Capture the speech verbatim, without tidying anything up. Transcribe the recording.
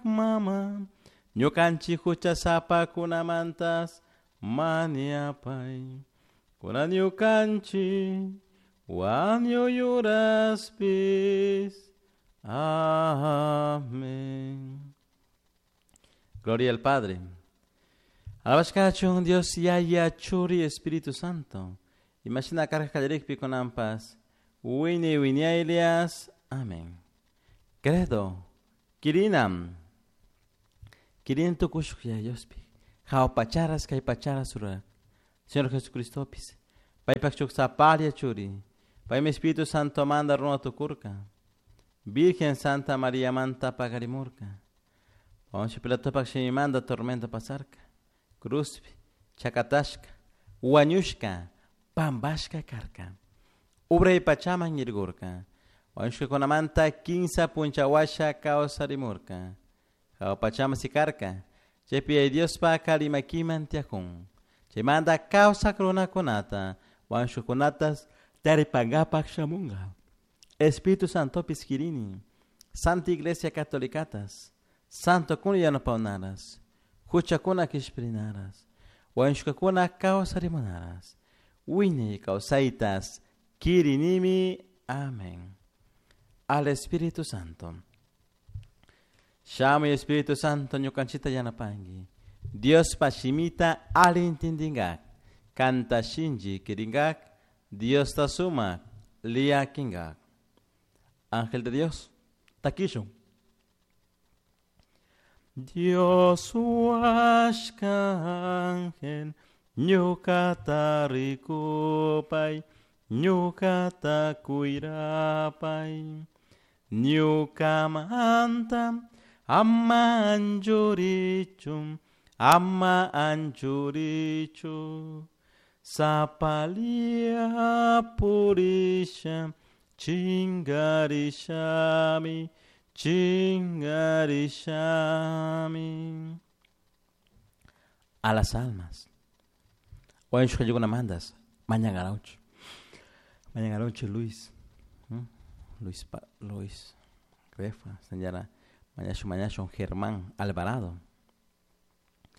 Mama, ñukanchik huchasapakunamantas mañapay. Kunan ñukanchik wañuy uraspis. Amén. Gloria al Padre. Alabashkachun Dios Yaya Churi Espíritu Santo. Imashina karka kallarikpi kunanpas. Wiñay wiñaylias. Amén. Credo. Kirinam. Kirin tukushuk Yaya Diospi. Jahua pacharas kay pacharas rurak. Señor Jesucristopis. Paypak shuk sapalla churi. Paymi Espíritu Santo manda runa tukurka. Virgen Santa María manta paqarimurka. Poncio Pilatopak shimimanta tormento pasarka. Cruzpi, chakatashka, wañushka, pampashka karka. Uray pachaman yaykurka. Wañushkakunamanta kimsa punlla huasha kawsarimurka. Jahua pachaman sikarka. Chaypi Yaya Diospak alli makiman tiyakun. Chaymanta kawsak runakunata, wañushkakunatas taripankapak shamunka. Espíritu Santopis kirini. Santa Iglesia Catolicatas. Santokuna yanapawnaras. Huchakuna kishpirinaras. Wañushkakuna kawsarimunaras. Wiñay kawsaytas kirinimi. Amén. Al Espíritu Santo. Shamuy Espíritu Santo ñukanchikta yanapanki. Diospa shimita alli intindinkak. Kanta shinchi kirinkak. Diosta sumak llakinkak. Ángel de Dios, takishun. Dios huashka ángel, ñukata rikupay, ñukata cuirapay. Ñukamanta ama anchurichu, ama anchurichu. Sapalla purisha, chingarishami, chingarishami. A las almas. Wañushkakunamantas, mañankarawchu. Mañankarawchu Luis. Luis, pa, Luis Grefa, señora. Mañashun, mañashun Germán Alvarado.